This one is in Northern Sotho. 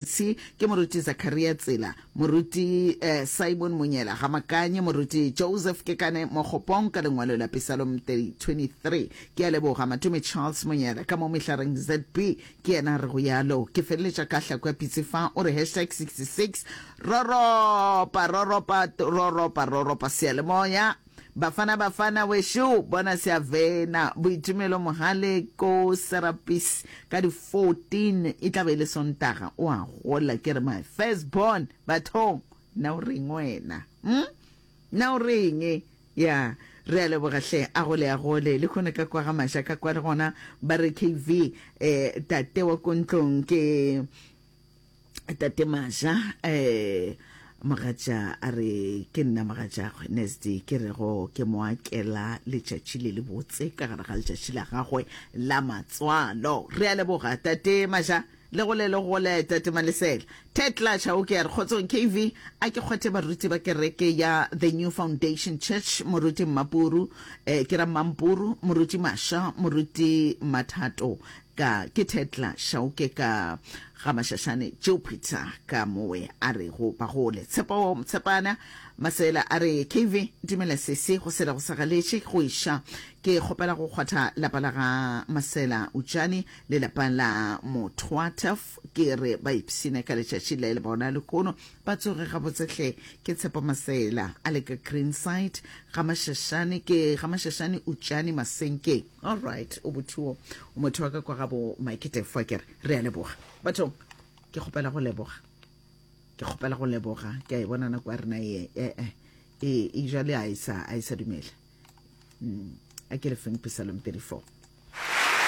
Tshi ke Moruti Zakaria Tsela, Moruti Simon Monyela ga Makanye, Moruti Joseph Kekane Mokgopong ka lengwalo la Pesalom 23. Ke a leboga Matome Charles Monyela ka mo Mehlareng ZB ke yena a rego yalo. Ke feleletša ka hlako ya pitsi fa o re hashtag 66 roropa roropa roropa roropa seyalemoya. Bafana Bafana wešo bona Seavena Boitumelo Mohale ko Serapis ka di 14 e tla be e le Sontaga o a gola ke re my first born bathong na o reng wena hm na o reng ya re a leboga hle a gole a gole le kgone ka kwa ga maša ka kwa le gona ba re KV eh tate wa ko ntlong ke Tate Maja, eh, mogatša a re ke nna mogatšagwe Nesdi ke rego ke mo akela letšatši le le botse ka gare ga letšatši la gagwe la matswalo. Re a leboga Tate Maja le gole le gole Tate Malesela. Ted Tlatša o ke a re kgotsong KV a ke kgwathe baruti ba kereke ya The New Foundation Church Moruti Mmapuru eh, ke ra Mmampuru Moruti Masha Moruti Mathato Ka ke Thetla Šauke ka ga Mašašane Jupiter ka mowe a rego ba gole. Tshepo Mtshepana Masela a re KV dumela sesi go sela go sa galetše go iša ke kgopela go kgwatha lapa la ga Masela Utšane le lapa la Mothwataf ke re ba ipshine ka letšatši le le bona lehono ba tsoge gabotse hle ke Tshepo Masela a le ka Greenside ga Mašašane ke ga Mašašane Utšane Masenkeng. All right, o bothuo o motho wa ka kwa gabo Mike Tefo ke re re a leboga. Bathong ke kgopela go leboga. Ke kgopela go leboga. Ke a e bona nako ya rena e e e e e jale a e sa a e sa dumela. Mm, a ke le feng Psalm 34.